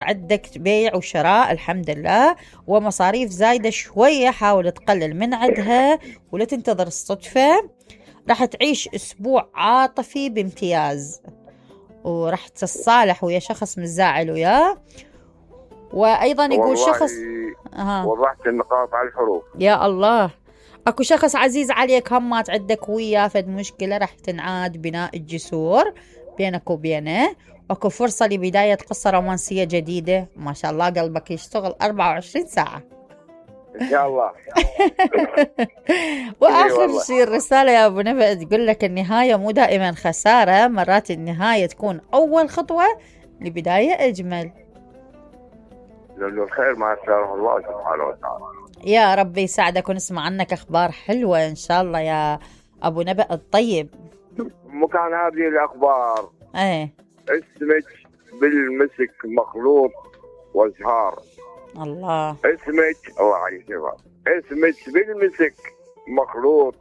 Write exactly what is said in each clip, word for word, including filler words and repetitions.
عندك بيع وشراء الحمد لله، ومصاريف زايدة شوية حاول تقلل من عندها ولا تنتظر الصدفة. راح تعيش أسبوع عاطفي بامتياز، وراح تتصالح ويا شخص مزاعل وياه. وأيضا يقول شخص أه. وضحت النقاط على الحروف. يا الله. أكو شخص عزيز عليك همات عندك وياه فد مشكلة، راح تنعاد بناء الجسور بينك وبينه. أكو فرصة لبداية قصة رومانسية جديدة. ما شاء الله قلبك يشتغل أربعة وعشرين ساعة إن شاء الله. وآخر شيء الرسالة يا أبو نبأ تقول لك النهاية مو دائما خسارة، مرات النهاية تكون أول خطوة لبداية أجمل. لأنه الخير ما يختاره الله سبحانه وتعالى. يا ربي يساعدك ونسمع عنك أخبار حلوة إن شاء الله يا أبو نبأ الطيب. مكان هذه الأخبار ايه اسمك بالمسك مخلوط وازهار. الله. اسمك الله عليك اسمك بالمسك مخلوط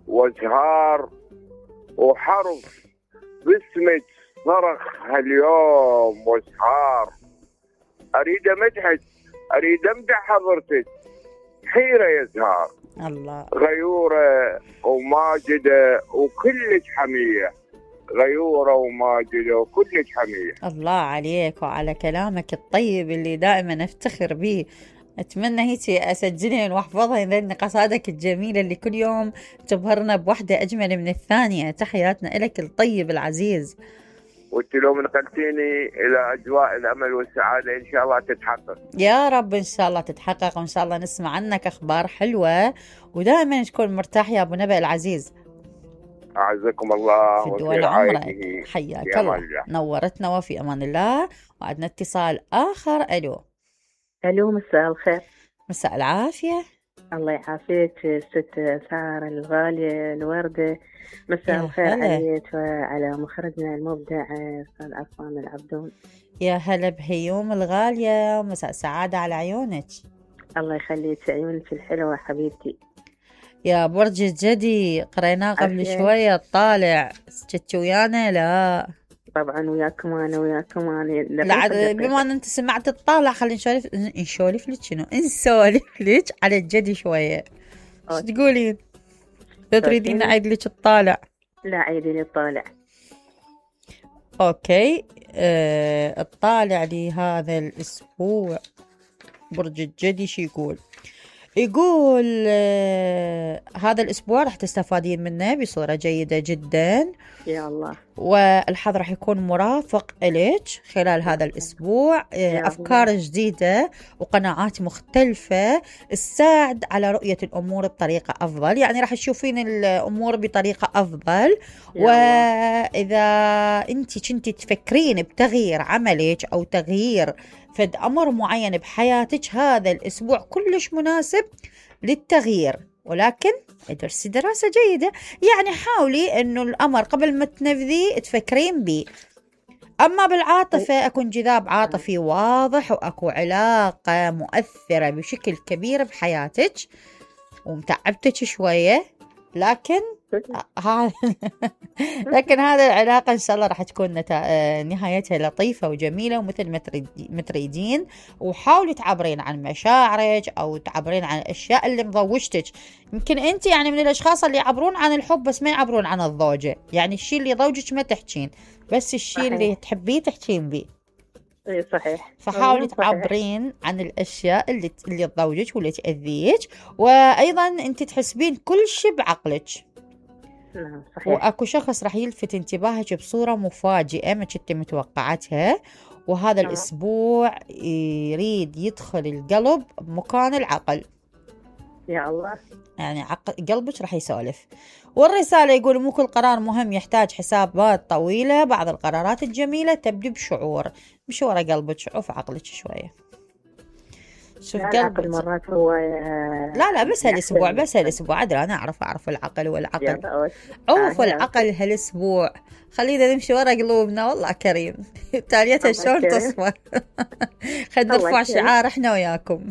وازهار، وحرف باسمك صرخ هاليوم واسهار. اريد امدحك اريد امدح حضرتك حيرة يا زهار. الله. غيورة وماجدة وكلش حمية، غيورة وماجدة وكلش حمية. الله عليك وعلى كلامك الطيب اللي دائما افتخر به. اتمنى هيك اسجلهن واحفظهن لان قصائدك الجميلة اللي كل يوم تبهرنا بوحدة اجمل من الثانية. تحياتنا لك الطيب العزيز. وانت لو نقلتيني الى اجواء الامل والسعاده ان شاء الله تتحقق. يا رب ان شاء الله تتحقق، وان شاء الله نسمع عنك اخبار حلوه، ودائما تكون مرتاح يا ابو نبأ العزيز. اعزكم الله في دول عمرك. حياك الله. نورتنا وفي امان الله. وعندنا اتصال اخر. الو. الو مساء الخير. مساء العافيه. الله يعافيك ست سارة الغالية الوردة. مساء الخير عليك وعلى مخرجنا المبدع أستاذ عصام العبدون. يا هلا بهيوم الغالية ومساء سعادة على عيونك. الله يخليك عيونك الحلوة حبيبتي. يا برج الجدي قريناه قبل أشياء. شوية طالع كنت ويانا؟ لا طبعا وياكم انا وياكم انا. لا بما ان انت سمعت الطالع خلينا نسولف نسولف لك شنو نسولف لك على الجدي شويه. ايش تقولين؟ تريدين اعيد لك الطالع؟ لا عيدي لي الطالع. اوكي. آه الطالع لهذا الاسبوع برج الجدي شو يقول؟ يقول آه هذا الأسبوع راح تستفادين منه بصورة جيدة جدا. يا الله. والحظ راح يكون مرافق إليك خلال هذا الأسبوع. آه أفكار الله. جديدة وقناعات مختلفة تساعد على رؤية الأمور بطريقة أفضل، يعني راح تشوفين الأمور بطريقة أفضل. وإذا أنت كنتي تفكرين بتغيير عملك أو تغيير فد أمر معين بحياتك، هذا الأسبوع كلش مناسب للتغيير، ولكن ادرسي دراسة جيدة. يعني حاولي أنه الأمر قبل ما تنفذي تفكرين بيه. أما بالعاطفة أكو انجذاب عاطفي واضح، وأكو علاقة مؤثرة بشكل كبير بحياتك ومتعبتك شوية، لكن ها لكن هذا العلاقة إن شاء الله راح تكون نتا... نهايتها لطيفة وجميلة ومثل ما تريدين. وحاولي تعبرين عن مشاعرك أو تعبرين عن الأشياء اللي مضوجتك. يمكن أنت يعني من الأشخاص اللي يعبرون عن الحب بس ما يعبرون عن الزوجة، يعني الشيء اللي يضوجك ما تحكين، بس الشيء صحيح. اللي تحبيه تحكين بيه. اي صحيح. فحاولي تعبرين عن الاشياء اللي اللي تضوجك واللي تاذيك، وايضا انت تحسبين كل شيء بعقلك. نعم صحيح. واكو شخص راح يلفت انتباهك بصوره مفاجئه ما كنت متوقعتها، وهذا نعم. الاسبوع يريد يدخل القلب بمكان العقل. يا الله. يعني عقل قلبك راح يسولف. والرسالة يقول مو كل قرار مهم يحتاج حسابات طويلة، بعض القرارات الجميلة تبدو بشعور، مش ورا قلبك وفي عقلك شوية. شوف قلبك مرات هو لا لا بس هالاسبوع بس هالاسبوع ادري انا اعرف اعرف العقل والعقل عوف العقل هالاسبوع. خلينا نمشي ورا قلوبنا. والله كريم. تاليتها شلون تصفى. خلينا نرفع شعار احنا وياكم.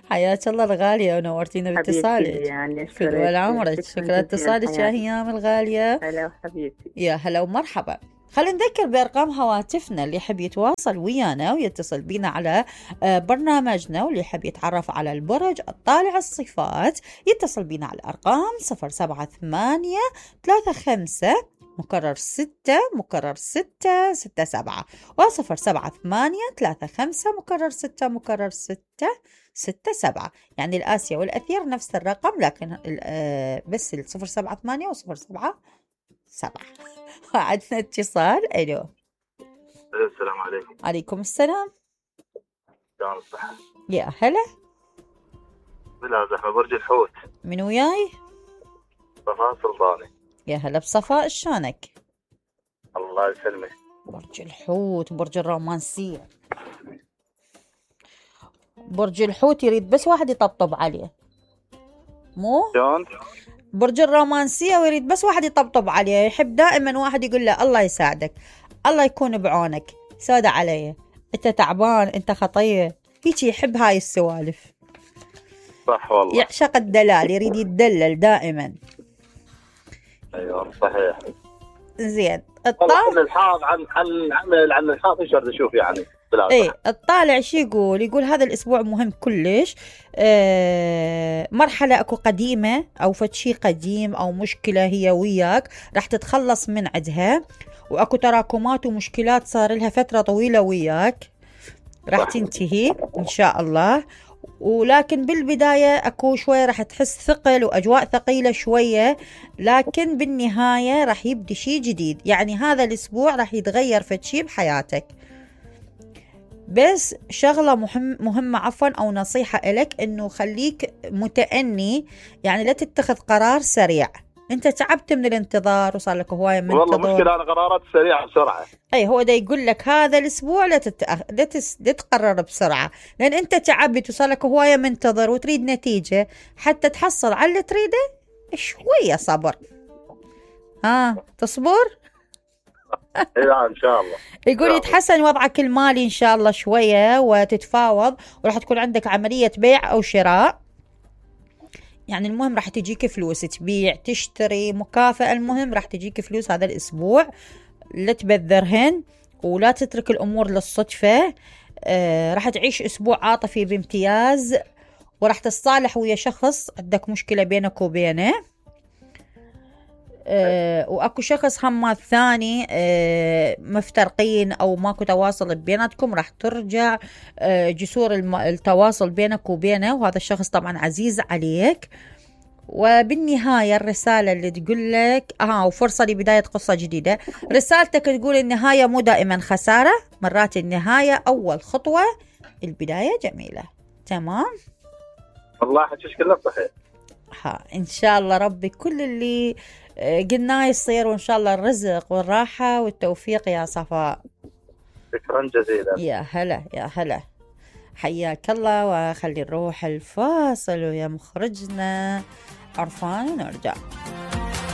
حياك الله الغالية ونورتينا باتصالك. يعني في دول عمرك. شكرا اتصالك يا هيام الغالية. هلا حبيبتي. يا هلا ومرحبا. خلينا نذكر بأرقام هواتفنا اللي يحب يتواصل ويانا ويتصل بينا على برنامجنا، واللي يحب يتعرف على البرج الطالع الصفات يتصل بينا على الأرقام صفر سبعة ثمانية ثلاثة خمسة مكرر ستة مكرر ستة ستة سبعة، وصفر سبعة ثمانية ثلاثة خمسة مكرر ستة مكرر ستة ستة سبعة. يعني الآسيا والأثير نفس الرقم، لكن بس الصفر سبعة ثمانية وصفر سبعة سبعة. عندنا اتصال. ألو. السلام عليكم. عليكم السلام. شلون الصحة؟ يا هلا. بلا زحمة. برج الحوت. من وياي؟ صفاء سلطاني. يا هلا بصفاء، شلونك؟ الله يسلمك. برج الحوت برج الرومانسية. برج الحوت يريد بس واحد يطبطب عليه، مو؟ شلون؟ برج الرومانسية ويريد بس واحد يطبطب عليه، يحب دائما واحد يقول له الله يساعدك، الله يكون بعونك، سودة علي، انت تعبان، انت خطية، هيك يحب هاي السوالف. صح والله. يعشق الدلال، يريد يتدلل دائما. ايوه صحيح. زين. الطالع الحاض عن عن عن عن الحاض ايش بدي اشوف يعني؟ ايه الطالع شي يقول؟ يقول هذا الاسبوع مهم كلش. آه مرحله اكو قديمه او فد شي قديم او مشكله هي وياك راح تتخلص من عندها، واكو تراكمات ومشكلات صار لها فتره طويله وياك راح تنتهي ان شاء الله. ولكن بالبدايه اكو شويه راح تحس ثقل واجواء ثقيله شويه، لكن بالنهايه راح يبدي شي جديد. يعني هذا الاسبوع راح يتغير فد شي بحياتك. بس شغلة مهم مهمة عفوا أو نصيحة إلك، إنه خليك متأني، يعني لا تتخذ قرار سريع. أنت تعبت من الانتظار وصار لك هواية منتظر. والله مشكلة أنا قرارات سريعة بسرعة. أي هو ده يقول لك هذا الأسبوع لا تتأخ... لا, تس... لا تقرر بسرعة، لأن أنت تعبت وصار لك هواية منتظر وتريد نتيجة. حتى تحصل على اللي تريده شوية صبر. ها تصبر؟ ايه ان شاء الله. يقول يتحسن وضعك المالي ان شاء الله شويه وتتفاوض، وراح تكون عندك عمليه بيع او شراء. يعني المهم راح تجيك فلوس، تبيع تشتري مكافأة، المهم راح تجيك فلوس هذا الاسبوع. لا تبذرهن ولا تترك الامور للصدفه. آه راح تعيش اسبوع عاطفي بامتياز، وراح تتصالح ويا شخص عندك مشكله بينك وبينه. أه واكو شخص هم ثاني أه مفترقين او ماكو تواصل بيناتكم، راح ترجع أه جسور التواصل بينك وبينه، وهذا الشخص طبعا عزيز عليك. وبالنهاية الرسالة اللي تقول لك اه وفرصة لبداية قصة جديدة. رسالتك تقول النهاية مو دائما خسارة، مرات النهاية اول خطوة، البداية جميلة. تمام. والله حكيش كله صحيح. ها ان شاء الله ربي كل اللي قلناه يصير، وإن شاء الله الرزق والراحة والتوفيق يا صفاء. شكرا جزيلا. يا هلا يا هلا، حياك الله. وخلي نروح الفاصل ويا مخرجنا عرفان ونرجع.